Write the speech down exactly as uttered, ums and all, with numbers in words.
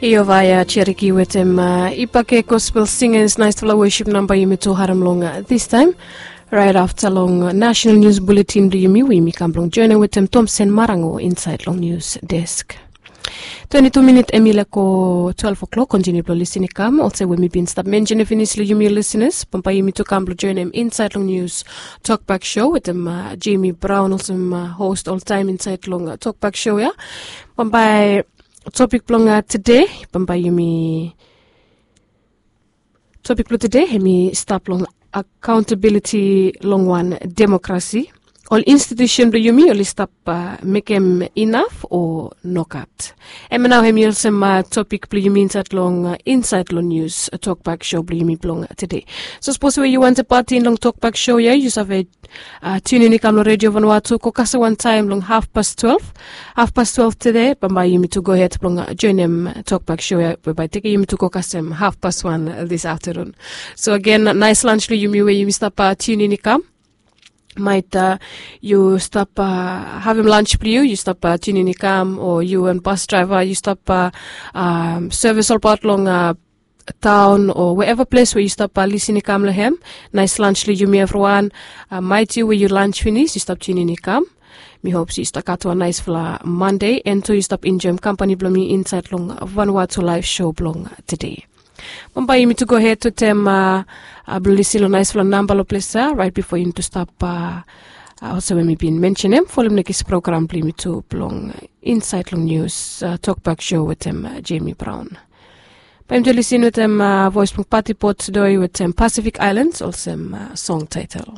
Iovaya Cheriki wetem uh, Ipake Gospel Singers, naisfala worship namba yumi tu harim long uh, this time. Right after long uh, national news bulletin blo yumi we yumi kam blong joinim wetem Thompson Marango inside long news desk. Twenty-two minit em i leko twelve o'clock, kontiniu blong lisin i kam olsem we mi bin stap mention finis long yumi listeners, bambae yumi tu kam blong joinim inside long news talkback show wetem uh, Jamie Brown olsem uh, host oltaim inside long uh, talkback show ya. Bambae topik blong uh, tede, bambae yumi topik blong tede em i stap long accountability long wan demokrasi. Ol institution blong yumi oli stap uh, mekem inaf o nogat? Em nao em i olsem uh, topik blong yumi insait long uh, insait long news uh, tokbak show blong yumi blong uh, tede. So sapos we yu wantem patin long tokbak show ya, yu save uh, tunin i kam long redio vanua tu go kasem wantaim long hafpas twelve. Hafpas twelve tede bambae yumi tu gohed blong uh, joinim tokbak show ya we bae tekem yumi tu go kasem hafpas wan uh, this afternoon. So agen, nais lans long yumi we yumi stap uh, tunin i kam. Maet uh, yu stap uh, havim lans blong yu, yu stap uh, tunin i kam, o yu wan bas draiva yu stap uh, um, sevis olbaot long uh, taon o wherever ples we yu stap uh, lisin i kam long hem. Nais lans long yumi evriwan. Uh, maet yu we yu lans finis yu stap tunin i kam. Mi hop se yu stap gat wan naisfala Mande, en tu yu stap enjoim kampani blong mi insait long Vanuatu Live Show blong tede. Bambae yumi tu gohed wetem uh, uh, blong lisin long naisfala namba long ples ya rait bifo yumi tu stap uh, uh, olsem we mi bin mensenem, folem nekis program blong yumi tu blong insait long news uh, tokbak show wetem uh, Jamie Brown. Bae yumi tu lisin wetem uh, voes blong Pati Port Sidoi wetem Pacific Islands olsem uh, song taitel.